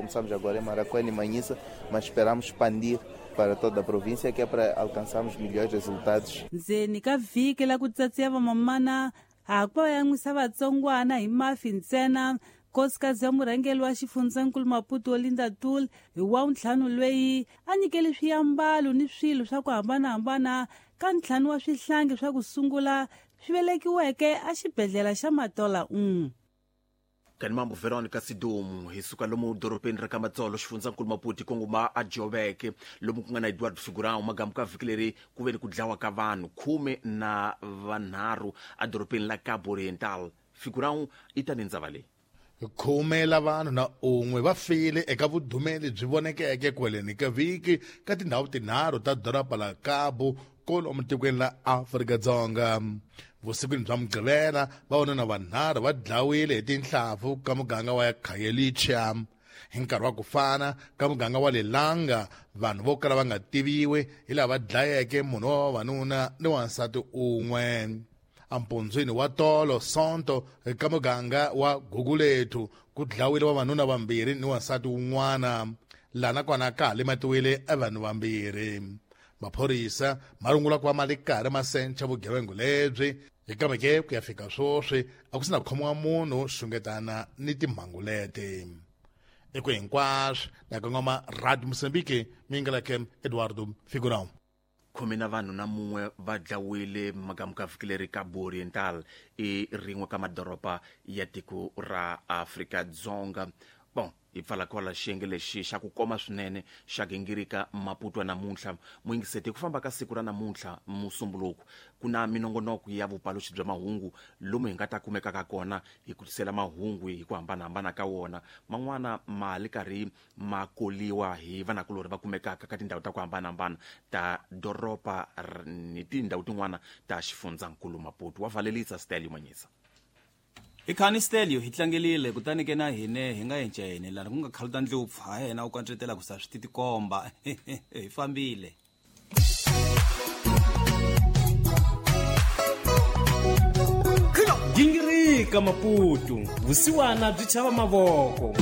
Começamos agora em Maracuene e Manhissa, mas esperamos expandir para toda a província, que é para alcançarmos melhores resultados. Ndzeni ka vhiki la ku tsatsiya vamamana ha ku va yan'wisa vatsongwana hi mafi ntsena. Nkosikazi ya murhangeri wa xifundzankulu Maputo Olinda Tul hi wa ntlhanu lweyi a nyikele swiambalo ni swilo swa ku hambanahambana ka ntlhanu wa swihlangi swa ku sungula swi velekiweke exibedhlele xa Matola 1. Kani mambo Veronica Sidumu hi suka lomu dorobeni ra ka Matsolo xifundzankulu Maputo kongoma a Joveke lomu ku nga na Eduardo Figurão. Magamu ka vhiki leri ku ve ni ku dlawa ka vanhu 13 edorobeni la Cabo Oriental. Figurão i ta ni ndzava leyi. 11 la vanhu na un'we va file eka vudumeli byi vonekeke kweleni ka vhiki ka tindhawu tinharhu ta doroba la Cabo kolomu tikweni la Afrika-Dzonga. Vusikwini bya Mugqivela, vavanuna vanharhu va dlawile hi tinhlampfu ka muganga wa Khayelitsha. Hi nkarhi wa ku fana, ka muganga wa Lelanga, vanhu vo kala va nga tiviwi hi lava dlayeke munhu wa vavanuna ni wansati un'we. Empundzwini wa tolo Sonto, ka muganga wa Gugulethu, ku dlawile vavanuna vambirhi ni wansati wun'wana. Lana kona ka ha lematiwile vanhu vambirhi. Maphorisa ma rungula ku va ma ri karhi ma sencha vugevenga lebyi, kambe ke ku ya fika sweswi a ku si na khomiwa munhu xungetana ni timhangu leti. Eku hinkwaswo na kongoma Radio Mozambique, mingalake Eduardo Figurão. 10 na vanhu na mun'we va dlawile magamu ka vhiki leri Cabo Oriental i rin'we ka madoroba ya tiko ra Afrika-Dzonga. Bon, hi pfala kwala xiyenge lexi xa ku koma swinene xa gingirika Maputo namuntlha. Muyingiseti, hi ku famba ka siku ra namuntlha Musumbuluku ku na minongonoko ya vupaluxi bya mahungu lomu hi nga ta kumekaka kona hi ku tisela mahungu hi ku hambanahambana ka wona. Man'wana ma li karhi ma koliwa hi vanakulorhi va kumekaka ka tindhawu ta ku hambanahambana ta doroba ni tindhawu tin'wana ta xifundzankulu Maputo. Wa valelisa Stelio Manyisa. Hi khani Stelio hi tlangelile kutani ke na hine hi nga encene lani ku nga khaluta ndlopfu ha yena u kantletela ku sa swi titikomba hi fambile. Gingirika Maputo, vusiwana byi chava mavoko.